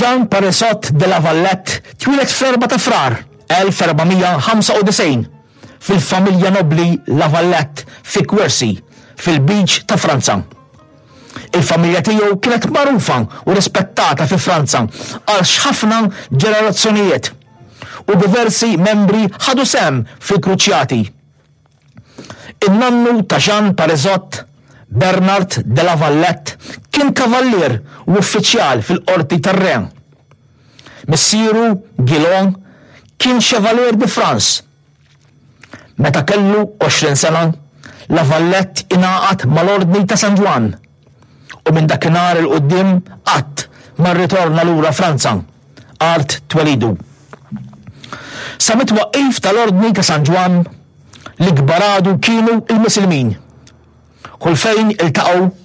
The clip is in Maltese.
Jean Parisot de la Valette twieled fl-4 ta' Frar 1495 fil-familja nobbli La Valette fi Quercy, fil-Lbiċ ta' Franza. Il-familja tiegħu kienet magħrufa u rispettata fi Franza għal ħafna ġenerazzjonijiet u diversi membri ħadu sehem fil-kruċjati. In-nannu ta' Jean Parisot, Bernard de la Valette, kien kavallier u uffiċjal fil-qorti tar-re. Missieru, Guillaume, kien Chevalier de France. Meta kellu 20 sena, La Valette ingħaqad mal-Ordni ta' San Ġwann u minn dakinhar 'il quddiem qatt ma rritorna lura Franza, art twelidu. Sa mit-twaqqif tal-Ordni ta' San Ġwann, l-ikbar għadu kienu l-Misilmin. Kull fejn iltaqgħu.